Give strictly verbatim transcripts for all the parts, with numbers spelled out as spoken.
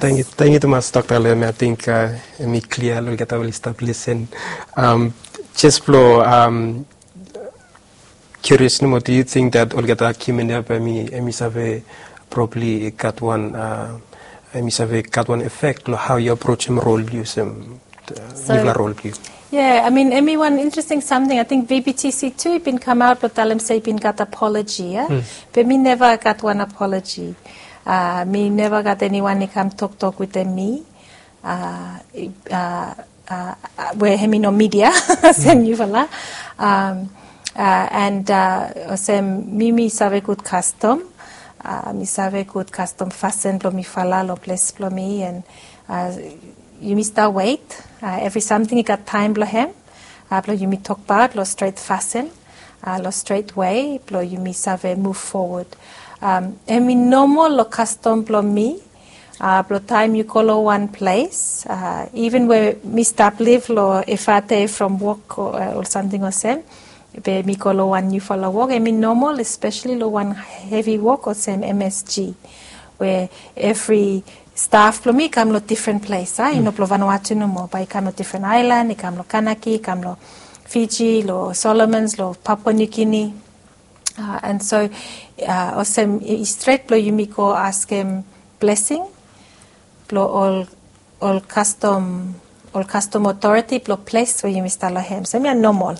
Tangyu, tangyu tumas, Dokta Lem. Ating hemi klia lo olgeta we oli stap lisen. Jes blo kirios nomo, do yu ting dat olgeta human ya bae hemi save probably gat wan, hemi save gat wan efek lo hao yu aprojem rol blo yu olsem nifala rol blo yu? Yeah, I mean, hemi wan interesting samting. Ating VBTC tu i bin kamaot blo talem se i bin gat apoloji ya. Be mi neva gat wan apoloji. Mi neva gat eniwan i kam toktok wetem mi we hemi no midia olsem yufala. And olsem mi, mi save gud kastom. Mi save gud kastom fasin blo mifala lo ples blo mi, and yumi stap wet. Evri samting i gat taem blo hem blo yumi tokbaot lo stret fasin, lo stret wei blo yumi save muv fowod. Hemi nomol lo kastom blo mi blo taem yu go lo wan ples, iven we mi stap liv lo Efate from wok o ol samting olsem, be mi go lo wan niufala wok, hemi nomol, espeseli lo wan hevi wok olsem MSG, we evri staf blo mi i kam lo difren ples, a, i no blo Vanuatu nomo, bae i kam lo difren aelan, i kam lo Kanaki, i kam lo Fiji, lo Solomons, lo Papua New Guinea. And so olsem i stret blo yumi go askem blesing blo ol, ol kastom, ol kastom otoriti blo ples we yumi stap lo hem. So hemia nomol.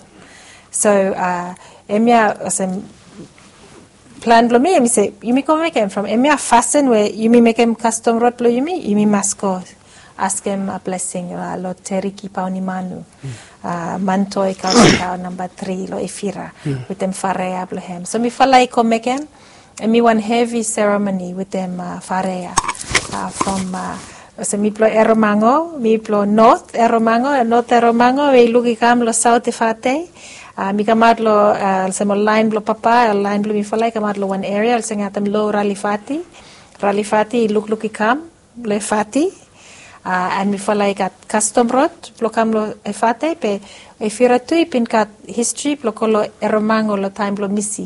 So hemia olsem plan blo mi, hemi se yumi go mekem from hemia fasin we yumi mekem kastom rod blo yumi, yumi mas go askem blesing lo Teriki Paunimanu, Mantoi Kausikau namba tri lo Efira, wetem farea blo hem. So mifala i go mekem, hemi wan hevi seremoni wetem farea. From olsem mi blo Erromango, mi blo North Erromango, North Erromango we i luk i kam lo Saot Efate. Mi kamaot lo olsem ol laen blo papa, ol laen blo mifala i kamaot lo wan eria olsem i atem lo Ralifati. Ralifati i lukluk i kam lo Efate. And mifala i gat kastom rod blo kam lo Efate, be Efira tu i bin gat histri blo go lo Erromango lo taem blo misi,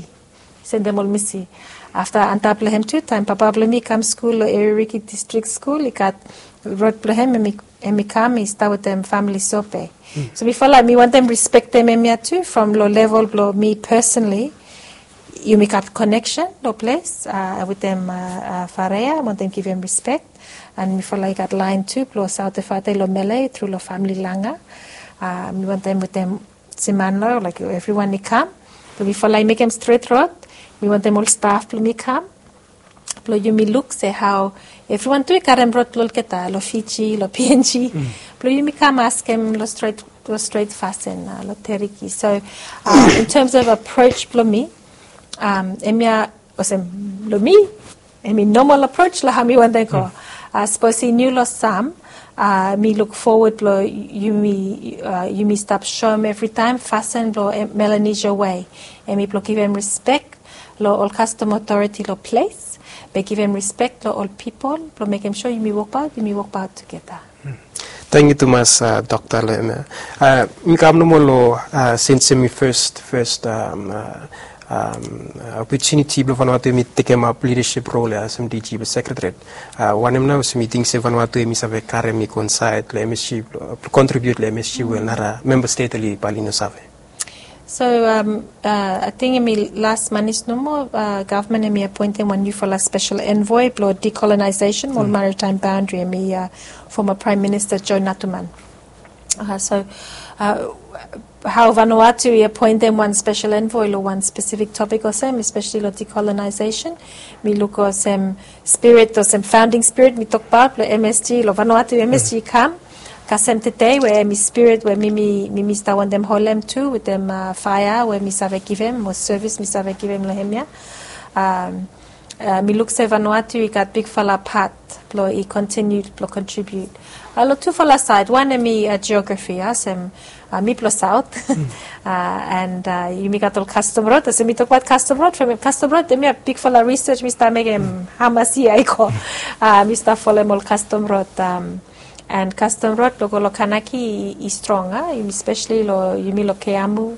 sendem ol misi. Afta antap lo hem tu, taem papa blo mi i kam skul lo Eririki Distrik Skul, i gat rod blo hem, hemi kam i stap wetem famili Sope. So mifala mi wantem rispektem hemia tu from lo level blo mi personally. Yumi gat koneksen lo ples wetem farea, wantem givim rispek. And mifala i gat laen tu blo Saot Efate lo Mele tru lo famili Langa. Mi wantem wetem siman lo, like, evriwan i kam. Blo mifala i mekem stret rod. Mi wantem ol staf blo mi kam blo yumi luk se hao evriwan tu i karem rod blo olgeta lo Fiji, lo PNG. Blo yumi kam askem lo stret, lo stret fasin lo Teriki. So in terms of approach blo mi, hemia olsem lo mi, hemi nomol approach lo hao mi wantem go. Sapos i niu lo sam, mi luk fowod blo yumi, yumi stap soem evritaem fasin blo Melanesia wei. Hemi blo givim rispek lo ol kastom otoriti lo ples, be givim rispek lo ol pipol blo mekem sua yumi wokbaot, yumi wokbaot tugeta. Tangyu tumas, Dokta Lem. Mi kam nomo lo, since hemi fes, fes opotuniti blo Vanuatu hemi tekemap lidasip rol ya olsem DG blo Sekretariat. Wanem nao olsem yu ting se Vanuatu hemi save karem i go insaed lo MSG, blo kontribiut lo MSG we nara memba stet oli bae oli no save? So ating hemi las manis nomo, gavman hemi apoentem wan niufala spesel envoi blo decolonization mo maritime boundary, hemi foma Praem Minista Joe Natuman. So hao Vanuatu i apoentem wan spesel envoi lo wan spesifik topik olsem, espeseli lo decolonization, mi luk olsem spirit, olsem founding spirit mi tokbaot lo MSG, lo Vanuatu MSG i kam kasem tede, we hemi spirit we mi, mi, mi stap wantem holem tu wetem faea we mi save givim, mo sevis mi save givim lo hemia. Mi luk se Vanuatu i gat bigfala pat blo i kontiniu blo kontribiut lo tufala saed. Wan hemi jeografi, olsem mi blo Saot. And yumi gat ol kastom rod, olsem mi tokbaot kastom rod, from kastom rod hemia bigfala risej mi stap mekem hamas yia i go. Mi stap folem ol kastom rod. And kastom rod blo go lo Kanaki i strong, a, yumi speseli lo, yumi lo Keamu,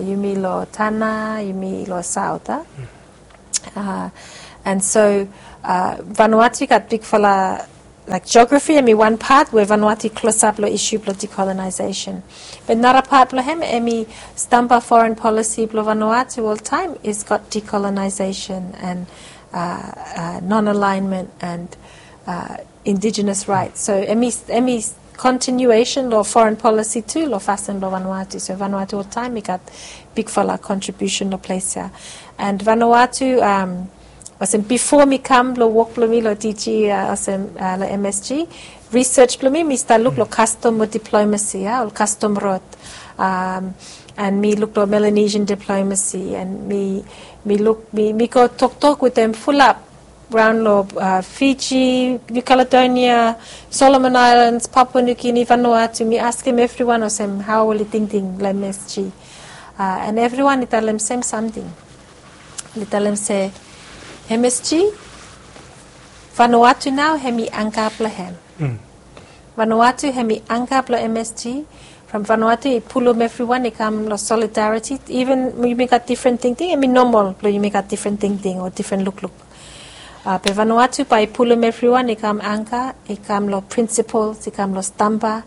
yumi lo Tanna, yumi lo Saot, a. And so Vanuatu i gat bigfala Laik, jeografi hemi wan pat we Vanuatu i klosap long isu blong decolonization. Be nara pat blong hem hemi stamba foren polisi blong Vanuatu oltaem is got decolonization and non-alignment and indigenous rights. So hemi kontinuesen long foren polisi tu long fasin blong Vanuatu. So Vanuatu oltaem i gat bigfala kontribiusen long ples ya. And Vanuatu, olsem bifo mi kam long wok blong mi long D G, olsem long M S G, risej blong mi, mi stap luk long kastom mo diplomasi, ya, ol kastom rod. And mi luk long Melanesian diplomasi, and mi, mi luk, mi, mi go toktok wetem fulap raon long Fiji, New Caledonia, Solomon Islands, Papua New Guinea, Vanuatu. Mi askem evriwan olsem hao oli tingting long M S G. And evriwan i talem sem samting. Oli talem se M S G, Vanuatu nao hemi angka blong hem. Vanuatu hemi angka blong M S G. From Vanuatu i pulum evriwan i kam long solidariti. Even yumi gat difren tingting, hemi nomol blong yumi gat difren tingting o difren lukluk. Be Vanuatu bae i pulum evriwan i kam angka, i kam long prinsipols, i kam long stamba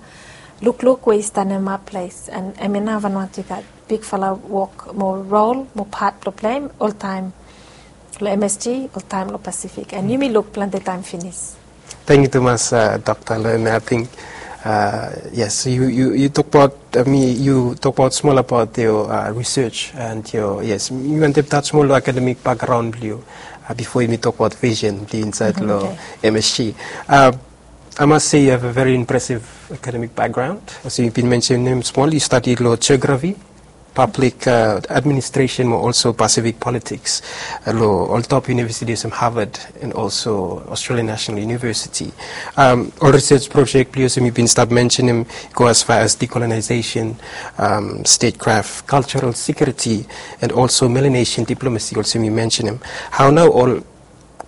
lukluk we i stanemap ples. And hemia nao Vanuatu i gat bigfala wok mo rol mo pat blong pleim oltaem long M S G, oltaem long Pasifik. And yumi luk plante taem finis. Tangkiu tumas, Dokta, long hemia. Ating, yes, yu, yu tokbaot, mi, yu tokbaot smol abaot yoa risej and yoa, yes, mi wantem tas smol long akademik bakgraon blong yu bifo yumi tokbaot visen blong yu insaed long M S G. I must say you have a very impressive academic background. Olsem yu bin mensenem smol, yu stadi long jeografi, pablik administresen, mo olso Pasifik politiks long ol top univesiti olsem Harvard and olso Australian National University. Ol risej projek blong yu olsem yu bin stap mensenem i go as far as decolonization, statecraft, cultural security, and olso Melanesian diplomasi olsem yu mensenem. Hao nao ol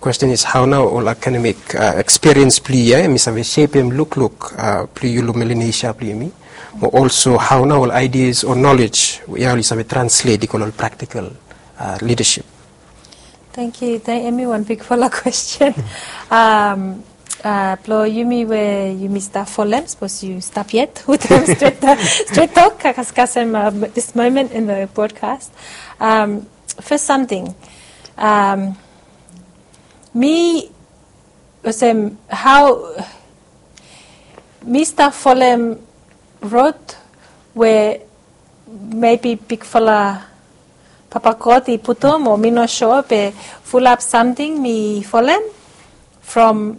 Kwesten is, hao nao ol akademik ekspiriens blong yu ya hemi save sepem lukluk blong yu long Melanesia blong yumi? Mo olso hao nao ol aidias o nolej ya oli save translet i go long ol praktikal lidasip? Tangkiu. Hemi wan bigfala kwesten. Blong yumi we yumi stap folem, sapos yu stap yet wetem stret tok, kasem dis momen in the broadcast. Fes samting, mi, olsem, hao mi stap folem rod we mebi bigfala Papa God i putum, o mi no sua, be fulap samting mi folem from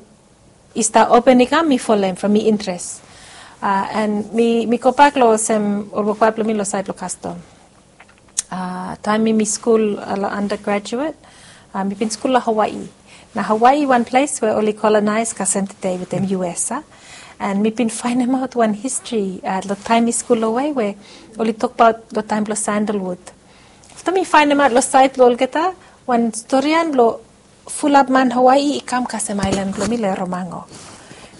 i stap open i kam, mi folem from mi interes. And mi, mi gobak long olsem ol wokbae blong mi long saed blong kastom. Taem mi, mi skul long undergraduate, mi bin skul long Hawaii. Nao Hawaii i wan ples we oli kolonaes kasem tede wetem U S, a? And mi bin faenemaot wan histri long taem mi skul long Hawaii we oli tokbaot long taem blong sandalwood. Afta mi faenemaot long saed blong olgeta, wan storian blong fulap man Hawaii i kam kasem aelan blong mi long Erromango.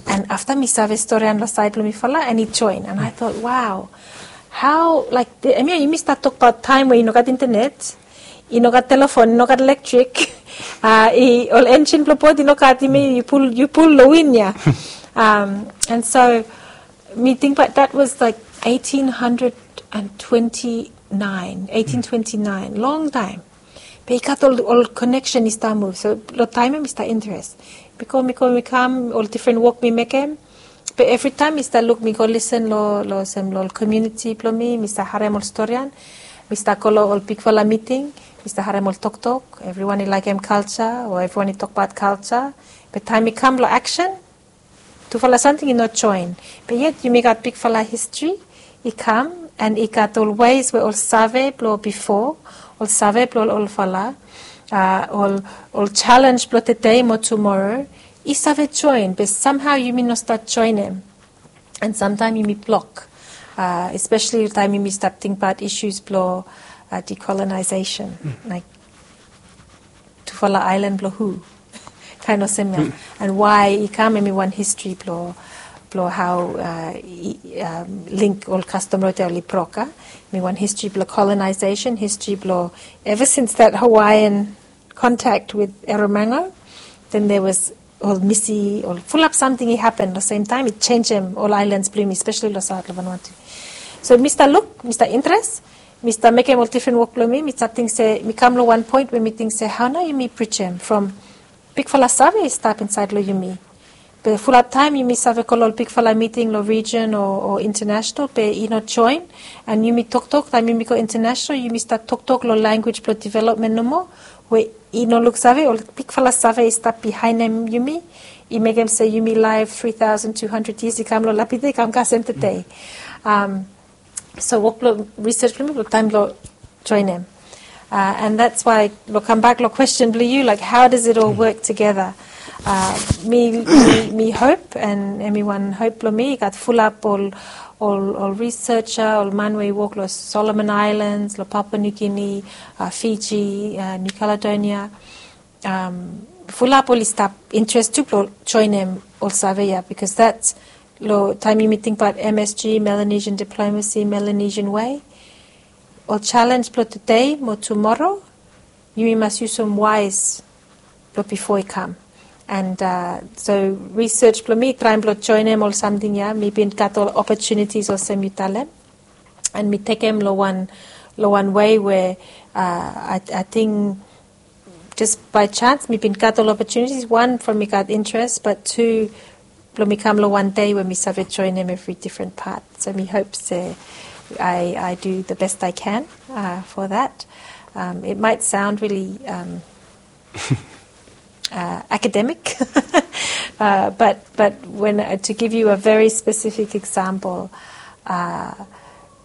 And afta mi save storian long saed blong mifala, and i joen. And I thought, wow, hao, laik, hemia yumi stap tokbaot taem we i no gat intenet, i no gat telefon, i no gat elektrik, ol enjin blong bot i no gat, i mean yu pul, yu pul long win ya. And so mi tingbaot that was like eighteen hundred and twenty-nine, eighteen twenty-nine, long taem. Be i gat ol, ol koneksen i stap muv. So long taem ya mi stap interes. Mi go, mi go, mi kam, ol difren wok mi mekem. Be evritaem mi stap luk, mi go lisen long, long olsem long ol komuniti blong mi, mi stap harem ol storian. Mi stap go long ol bigfala miting, mi stap harem ol toktok. Evriwan i laekem kalja, o evriwan i tokbaot kalja. Be taem mi kam long aksen, tufala samting i no joen. Be yet yumi gat bigfala histri i kam, and i gat ol ways we ol save blong bifo, ol save blong ol olfala, ol, ol jalenj blong tede mo tumoro i save joen, be samhao yumi no stap joenem. And samtaem yumi blok, espeseli taem yumi stap tingbaot isus blong decolonization, laek, tufala aelan blong hu? Kaen olsem ya. And wae i kam, hemi wan histri blong, blong hao i link ol kastom rod ya oli brok, a? Hemi wan histri blong colonization, histri blong, ever since that Hawaiian contact with Erromango, then there was ol misi ol fulap samting i hapen lo sem taem i jenjem ol aelans blong yumi spesali lo saot lo Vanuatu. So mi stap luk, mi stap interes, mi stap mekem ol difren wok blong mi. Mi stap ting se mi kam lo wan poen we mi ting se hao nao yumi prijim from bigfala save i stap insaed lo yumi. Be fulap taem yumi save go lo ol bigfala miting lo rijon o internasonal be i no joen. An yumi toktok taem yumi go internasonal yumi stap toktok lo lanwis blong developmen nomo we i no luksave ol bigfala save i stap bihaenem yumi. I mekem se yumi laef tri taosen tu handred yias i kam lo lapide i kam kasem tede. So wok blong risej blong mi blong taem blong joenem. An dats wae blong kambak long kwesten blong yu laik hao does it ol wok tugeta? Mi hop an em i wan hop blong mi i gat fulap ol ol ol riseja ol man we i wok long Solomon Aelans, long Papua Niu Gini, Fiji, Niu Kaledonia. Fulap oli stap interes tu blong joenem ol save ya bikos dats long taem yumi tingbaot M S G, Melanesian Diplomacy, Melanesian Way. Ol jalenj blong tede mo tumoro yumi mas yusum waes blong bifo i kam. An so risej blong mi traem blong joenem ol samting ya mi bin gat ol opotunitis olsem yu talem. An mi tekem long wan long wan wei we ating jes bae jans mi bin gat ol opotunitis wan from mi gat interes bat tu blong mi kam long wan dei we mi save joenem evri difren pat. So mi hop se I do the best I can for that. It might sound really academic, but when to give you a very specific example,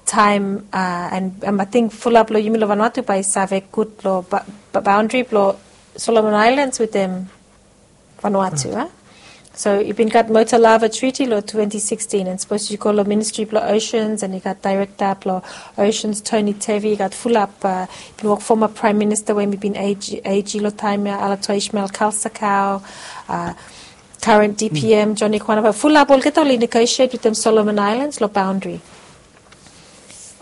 time and I think fulap lo yumi lo Vanuatu bae save gud lo boundary blo Solomon Islands wetem Vanuatu. So i bin gat Mota Lava Treaty lo twenty sixteen, and sapos yu go lo Ministry blo Oceans and i gat Director blo Oceans Tony Tevi, i gat fulap, bin wok former Prime Minister we mi bin AG lo taem ya, Alato Ishmael Kalsakau, current DPM Johnny Kwanapa, fulap olgeta oli negotiate wetem Solomon Islands lo boundary.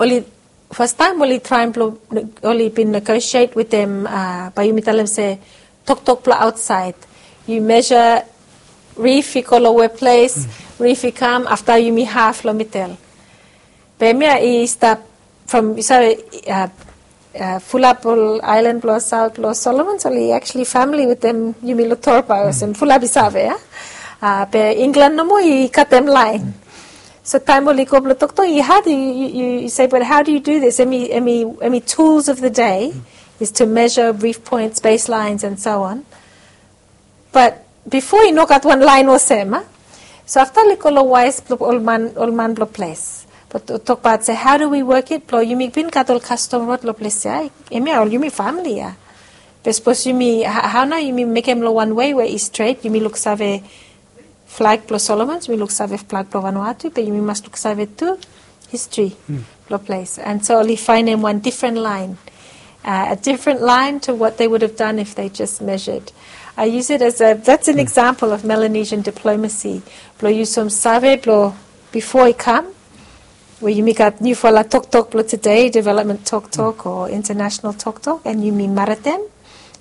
Oli fastaem oli traem blo oli bin negotiate wetem, bae yumi talem se toktok blo aotsaed. Yu measure reef i go lo weples, reef i kam afta yumi haf lo midel. Be hemia i stap from yu save fulap ol aelan blo saot blo Solomons oli actually famili wetem yumi lo Torba olsem fulap i save ya. Be Inglan nomo i katem laen. So taem oli go blo toktok i had yu se, but how do you do this? Hemi tools of the day is to measure reef points, baselines and so on. Bat bifo i no gat wan laen olsem. So afta oli go lo waes blo ol man blo ples, bat tokbaot se how do we work it blo yumi bin gat ol kastom rod lo ples ya. Hemia ol yumi famili ya. Be sapos yumi, hao nao yumi mekem lo wan wei we i stret, yumi luksave flag blo Solomons, yumi luksave flag blo Vanuatu, be yumi mas luksave tu histri blo ples. And so oli faenem wan difren laen, a difren laen to what they would have done if they just measured. I use it as a, that's an example of Melanesian diplomacy. Blo yusum save blo bifo i kam we yumi gat niufala toktok blo tede, development toktok o international toktok, and yumi maretem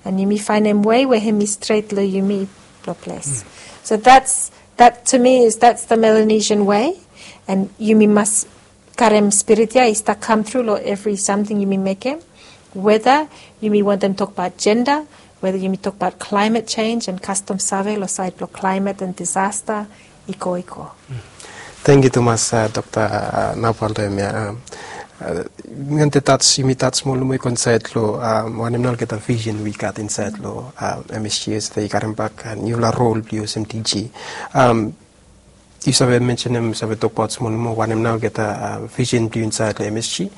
and yumi faenem wei we hemi stret lo yumi blo ples. So that's, that to me is, that's the Melanesian way. And yumi mas karem spirit ya i stap kam tru lo evri samting yumi mekem. Weta yumi wantem tokbaot jenda, weta yumi tokbaot klaemet jenj and kastom save lo saed blo klaemet and disasta, i go, i go. Tangkiu tumas, Dokta Navaldo. Hemia mi wantem tas, yumi tas smol nomo i go insaed lo wanem nao olgeta vision we i gat insaed lo MSG, olsem i karembak niufala rol blo yu olsem DG. Yu save mensenem, save tokbaot smol nomo wanem nao olgeta vision blo yu insaed lo MSG.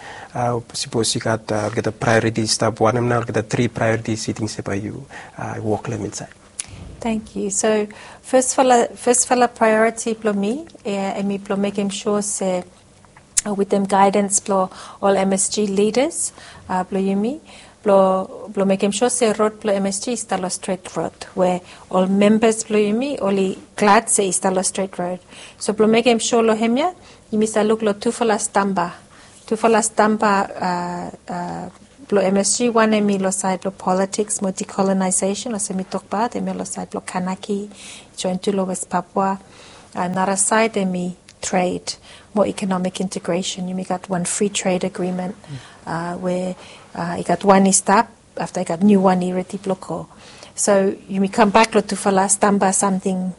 Sapos i gat olgeta priorities, stap wanem nao olgeta tri priorities yu ting se bae yu wok lo hem insaed? Tangkiu. So fasfala, fasfala priority blo mi hemi blo mekem sua se wetem gaedans blo ol MSG lidas blo yumi, blo, blo mekem sua se rod blo MSG i stap lo stret rod we ol membas blo yumi oli glad se i stap lo stret rod. So blo mekem sua lo hemia yumi save luk lo tufala stamba, tufala stamba Blong M S G, wan hemi long saed blong politiks mo decolonization, olsem mi tokbaot, hemia long saed blong Kanaki, joen tu long West Papua. Nara saed hemi trade mo economic integration. Yumi gat wan free trade agreement we i gat wan i stap, afta i gat niu wan i redi blong go. So yumi kambak long tufala stamba samting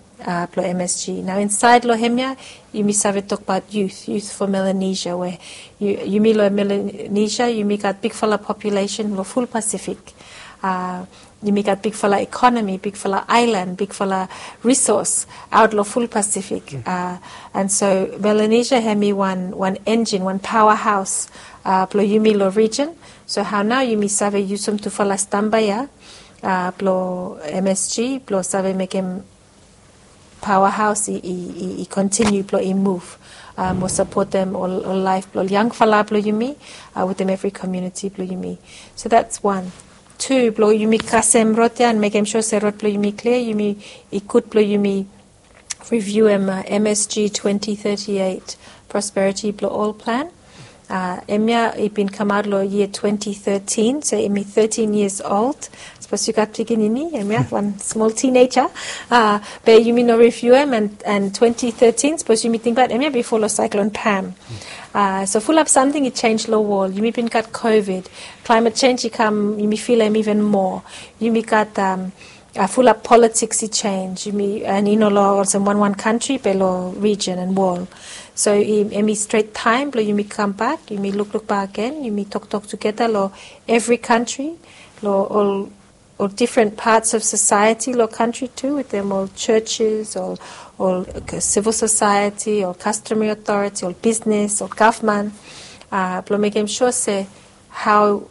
blong M S G. Nao insaed long hemia yumi save tokbaot youth, youth for Melanesia, we yumi long Melanesia yumi gat bigfala populesen long ful Pasifik. Yumi gat bigfala ekonomi, bigfala aelan, bigfala risos aot long ful Pasifik. An so Melanesia hemi wan, wan enjin, wan paoahaos blong yumi long rijen. So hao nao yumi save yusum tufala stamba ya blong M S G blong save mekem paoahaos i, i, i kontiniu blong i muv mo sapotem ol, ol laef blong ol yangfala blong yumi wetem evri komuniti blong yumi. So that's one. Tu, blong yumi kasem rod ya an mekem sua se rod blong yumi klia, yumi, i gud blong yumi riviuem M S G twenty thirty-eight prosperiti blong ol plan. Hemia i bin kamaot long yia twenty thirteen, so hemi thirteen years old. Sapos yu gat pikinini, hemia wan smol tineja. Be yumi no riviuem, an twenty thirteen, sapos yumi tingbaot, hemia bifo long Cyclone Pam. So fulap samting i jenj long wol. Yumi bin gat COVID, klaemet jenj i kam, yumi filem iven moa. Yumi gat fulap politiks i jenj, yumi, an i no long olsem wanwan kantri be long rijen an wol. So hemi stret taem blong yumi kambak, yumi lukluk bakegen, yumi toktok tugeta long evri kantri, long ol, ol difren pats of sosaeti long kantri tu, wetem ol jojes, ol, ol sivil sosaeti, ol kastomari otoriti, ol bisnes, ol gavman, blong mekem sua se hao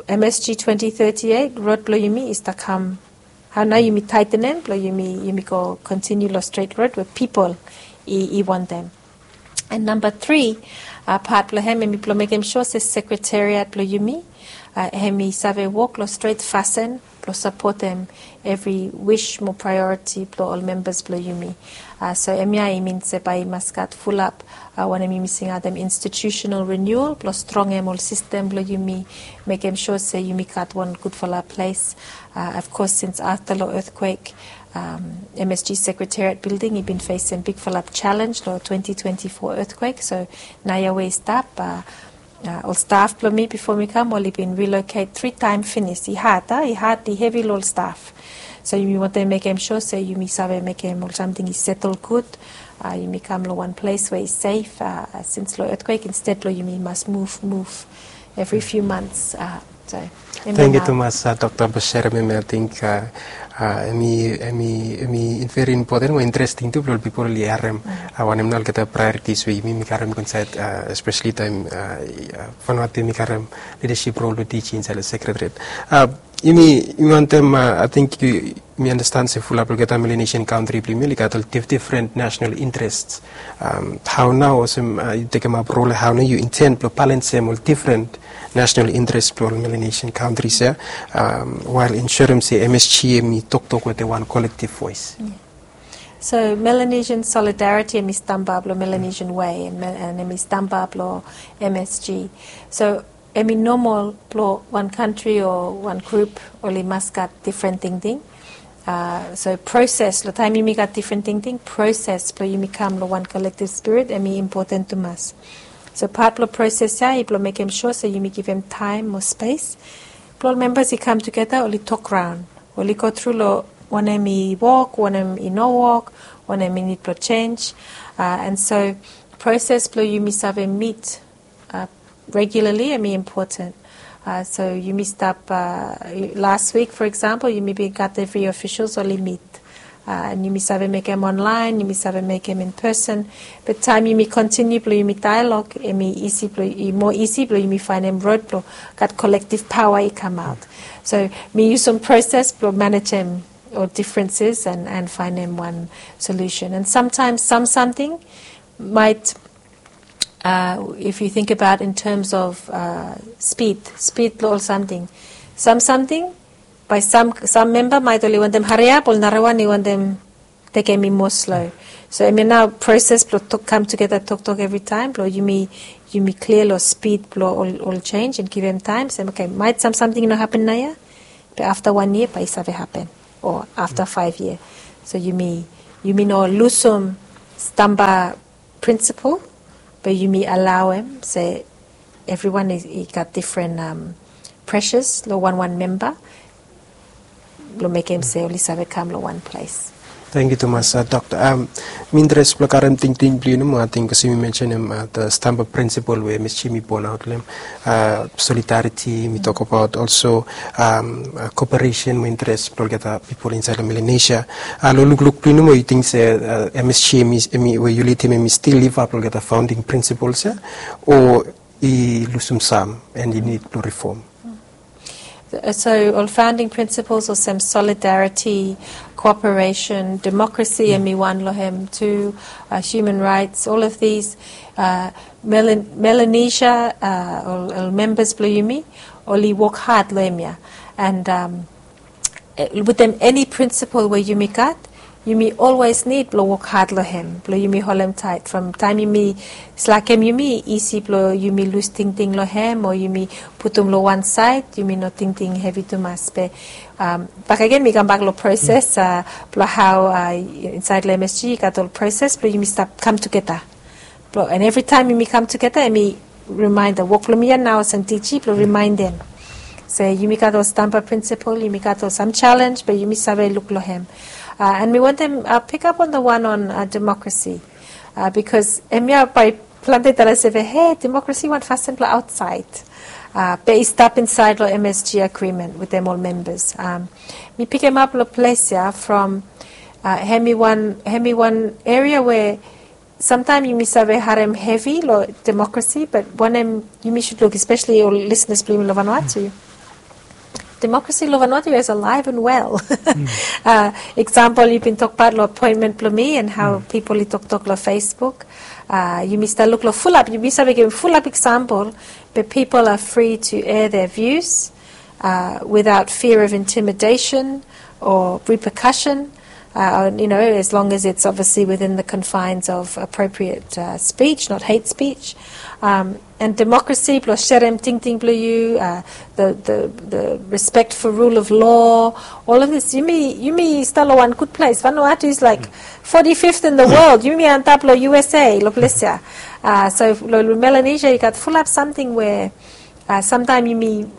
M S G twenty thirty-eight rod blong yumi i stap kam, hao nao yumi taetenem blong yumi, yumi go kontiniu long stret rod we pipol i, i wantem. An namba tri pat blong hem hemi blong mekem sua se sekretariat blong yumi hemi save wok long stret fasin blong sapotem evri wis mo praeoriti blong ol membas blong yumi. So hemia i min se bae i mas gat fulap wanem yumi singaotem institutional renewal blong strongem ol sistem blong yumi, mekem sua se yumi gat wan gudfala ples. Of course, since afta long etkwek, M S G Secretariat Building i bin fesem bigfala jalenj long twenty twenty-four etkwek. So naoia we i stap, ol staf blong mi bifo mi kam oli bin riloket tri taem finis. I had, a, i had, i hevi long ol staf. So yumi wantem mekem sua se yumi save mekem ol samting i setel gud. Yumi kam long wan ples we i sef, sins long etkwek, insted blong yumi mas muv, muv evri fiu mans. So hemia nao. Tangkiu tumas, Dokta, blong serem hemia. Ating hemi, hemi, hemi veri impoten mo interesting tu blong ol pipol oli harem wanem nao olgeta praeoritis we yumi, yumi karem go insaed, espeseli taem Vanuatu hemi karem lidasip rol blong tijing insaed long sekretariat. Yumi, yumi wantem, ating yu, mi anastan se fulap long olgeta Melanesian kantri blong yumi oli gat ol dif-, difren nasenal intrest. Hao nao olsem yu tekemap rol, hao nao yu inten blong balensem ol difren nasenal intrest blong ol Melanesian kantris ya, wael ensurem se M S G hemi toktok wetem wan kolektiv voes? So Melanesian solidariti hemi stamba blong Melanesian way, an hemi stamba blong M S G. So hemi nomol blong wan kantri o wan grup oli mas gat difren tingting. So proses, long taem yumi gat difren tingting, proses blong yumi kam long wan kolektiv spirit hemi impoten tumas. So pat blong proses ya i blong mekem sua se yumi givim taem mo spes blong ol membas i kam tugeta, oli tokraon, oli gotru long wanem i wok, wanem i no wok, wanem i nid blong jenj. An so proses blong yumi save mit regularli hemi impoten. So yumi stap, las wik, fo eksampol, yumi bin gat evri ofisol oli mit. An yumi save mekem onlaen, yumi save mekem in peson. Be taem yumi kontiniu blong yumi daelog, hemi isi blong, i moa isi blong yumi faenem rod blong gat kolektiv paoa i kamaot. So mi yusum proses blong manejem ol difrenses an, an faenem wan solusen. An samtaem sam samting maet, if yu tingbaot in terms of spid, spid blong ol samting. Sam samting, bae sam, sam memba maet oli wantem hariap, ol narawan i wantem tekem i moa slo. So hemia nao proses blong kam tugeta toktok evritaem blong yumi, yumi klia long spid blong ol, ol jenis and givim taem se, oke, maet sam samting i no hapen naoia, be afta wan yia bae i save hapen, o afta faef yia. So yumi, yumi no lusum stamba prinsipol, be yumi alaoem se evriwan i gat difren presas long wanwan memba blong mekem se oli save kam long wan ples. Tangkiu tumas, dokta. Mi interes blong karem tingting blong yu nomo, ating bikos yumi mensenem stamba prinsipol we M S G mi bon aot long hem, solidariti mi tokabaot, olso koperesen mo interes blong olgeta pipol insaed long Melanesia. Long lukluk blong yu nomo, yu ting se M S G we yu lidim hem i stil livap long olgeta faonding prinsipols ya, o i lusum sam and i nid blong rifom? So ol founding principles olsem solidarity, cooperation, democracy, hemi wan long hem tu, uh, human rights, all of these, uh, Melan- Melanesia, uh, ol, ol members blong yumi, oli wok had long hemia. And um, eh, with them, any principle we yumi gat, yumi always nid blong wok had long hem blong yumi holem taet. From taem yumi slakem, yumi isi blong yumi lus tingting long hem o yumi putum long wan saed, yumi no tingting hevi tumas. Be um, bakegen mi kambak long proses, uh, blong hao, uh, insaed long M S G i gat ol proses blong yumi stap kam tugeta. Blong, and evritaem yumi kam tugeta, hemi rimaenda. Wok blong mi ya nao olsem D G blong rimaendem se yumi gat ol stamba prinsipol, yumi gat ol sam jalenj, be yumi save luk long hem. Uh, and mi wantem, uh, pikap on the wan on, uh, demokrasi. Uh, bikos hemia bae plante talem se, hei, demokrasi wan fasin blong aotsaed. Uh, be i stap insaed long M S G agreement wetem ol membas. Um, mi pikimap long ples ya from, uh, hemi wan, hemi wan eria we samtaem yumi save harem hevi long demokrasi, be wanem yumi sud luk, espeseli ol lisenas blong yumi long Vanuatu. Demokrasi long Vanuatu is alive and well. Uh, eksampol, yu bin tokbaot long apoentmen blong mi and hao pipol i toktok long Facebook. Uh, yumi stap luk long fulap, yumi save givim fulap eksampol, be pipol are free to air their views, uh, without fear of intimidation or repercussion, uh, you know, as long as it's obviously within the confines of appropriate, uh, speech, not hate speech. Um, and demokrasi, blong serem tingting blong yu, uh, the, the, the respect for rule of law, all of this. Yumi, yumi stap long wan gud ples. Vanuatu is like forty-fifth in the world. Yumi antap long U S A, long ples ya. Uh, so long, long Melanesia, i gat fulap samting we, uh, samtaem yumi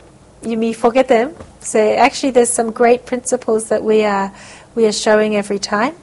yumi fogetem se actually there's some great principles that we are, we are showing every time.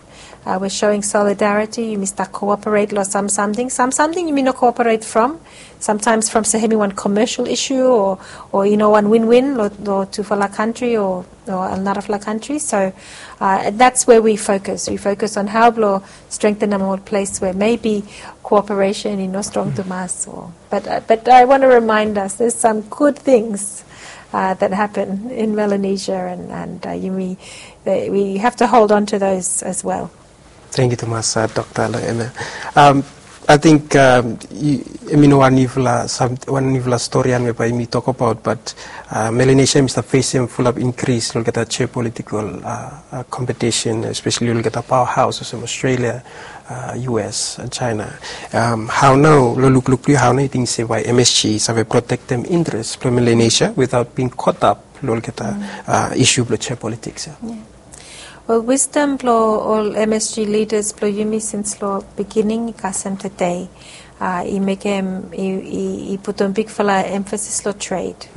Uh, we're showing solidarity. Yumi stap cooperate long sam samting. Sam samting yumi no cooperate from. Sometimes from se hemi wan commercial issue o, o i no wan win-win long, long tufala kantri o, o narafala kantri. So, uh, that's where we focus. We focus on hao blong strengthenem ol ples we maybe cooperation i no strong tumas o. But, uh, but I want to remind us, there's some good things, uh, that happen in Melanesia, and, and, uh, yumi, uh, we have to hold on to those as well. Tangkiu tumas, uh, dokta, long hemia. Um, ating, um, hemi no wan niufala, sam- wan niufala stori ya we bae yumi tokbaot, but, uh, Melanesia hemi stap fesem fulap inkris long olgeta jeopolitikol, uh, uh, kompetisen, espeseli long olgeta paoahaos olsem Australia, uh, U S, uh, China. Um, hao nao, long lukluk blong yu, hao nao yu ting se bae M S G i save protektem interes blong Melanesia without being caught up long olgeta, uh, isu blong jeopolitiks ya? Wel, wisdom blong ol M S G lidas blong yumi sins long beginning i kasem tede, uh, i mekem, i, i, i putum bigfala emphasis long trade.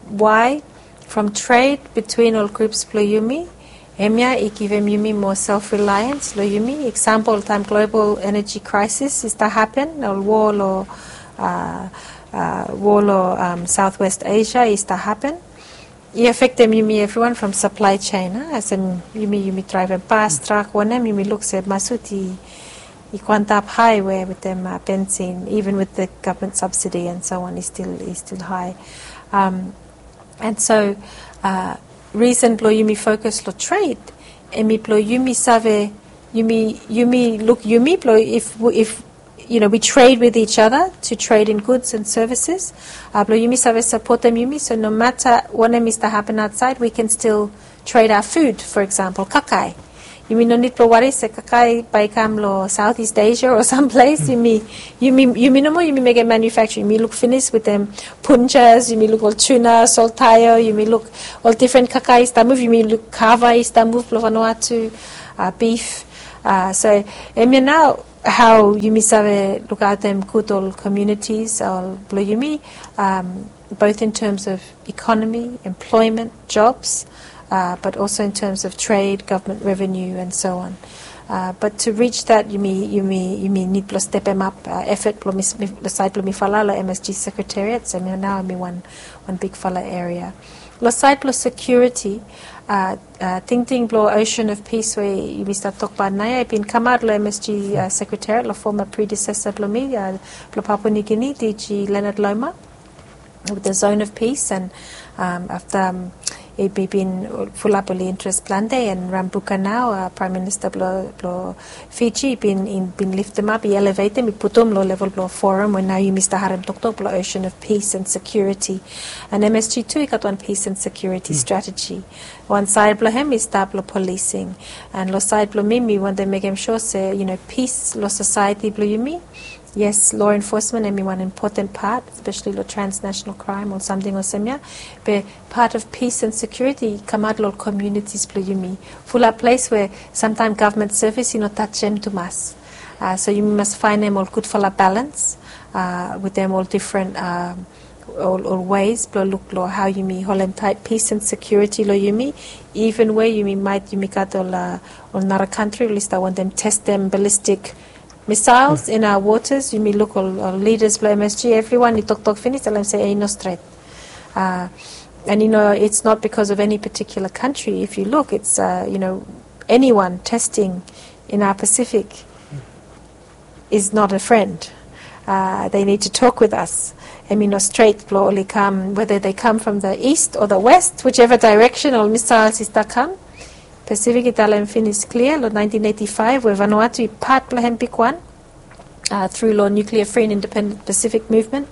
Why? From trade between ol grups blong yumi, hemia i givim yumi moa self-reliance long yumi. Eksampol, taem global energy crisis i stap hapen, ol war long, uh, uh, war long, um, Southwest Asia i stap hapen, i afektem yumi evriwan from supply chain, uh, olsem yumi, yumi draevem bas, trak, wanem, yumi luk se masut i, i go antap hae we wetem, uh, bensin, even with the government subsidy and so on, i stil, i stil hae. Um, And so, uh, risen blong yumi fokus long trade, hemi blong yumi save, yumi, yumi luk yumi blong if, if, you know, we trade with each other to trade in goods and services, uh, blong yumi save sapotem yumi, so no mata wanem i stap hapen aotsaed, we can still trade our food, for example, kakae. Yumi no nid blong wari se kakae bae i kam long Southeast Asia o samples. Yumi, yumi, yumi nomo yumi mekem manufacture. Yumi luk finis wetem punjas, yumi luk ol tuna, soltaio, yumi luk ol difren kakae i stap muv, yumi luk kava i stap muv blong Vanuatu, bif. So hemia nao hao yumi save lukaotem gud ol communities ol blong yumi, both in terms of economy, employment, jobs, but also in terms of trade, government revenue and so on. But to reach that yumi, yumi, yumi nid blong stepemap effort blong mi, long saed blong mifala long M S G secretariat. So hemia nao hemi wan, wan bigfala area. Long saed blong security, tingting blong Ocean of Peace we yumi stap tokbaot naoia i bin kamaot long M S G secretariat long foma predecessor blong mi, blong Papua New Guinea, D G Leonard Loma, with the Zone of Peace, and afta i bin fulap oli interes plante, and Rabuka nao, Prime Minister blong Fiji, i bin, i bin liftemap, i elevetem, i putum long level blong forum we nao yumi stap harem toktok blong Ocean of Peace and Security. And M S G tu i gat wan peace and security strategy. Wan saed blong hem i stap long policing. And long saed blong mi mi wantem mekem sua se, you know, peace long society blong yumi. Yes, law enforcement hemi wan impoten pat, especially long transnational crime o samting olsem ia. Be part of peace and security i kamaot long communities blong yumi. Fulap ples we samtaem government service i no tajem tumas. So yumi mas faenem ol gudfala balans wetem ol difren, ol, ol ways blong luk long hao yumi holem taet peace and security long yumi. Even we yumi maet, yumi gat ol, ol nara kantri oli stap wantem testem ballistic missiles in our waters. Yumi luk ol, ol leaders blong M S G, evriwan i toktok finis talem se i no stret. And you know, it's not because of any particular country. If you look, it's, you know, anyone testing in our Pacific is not a friend. They need to talk with us. Hemi no stret blong oli kam, whether they come from the east or the west, whichever direction ol missiles i stap kam. Pacific i talem finis klia long nineteen eighty-five we Vanuatu i pat blong hem bigwan through long nuclear free and independent Pacific movement,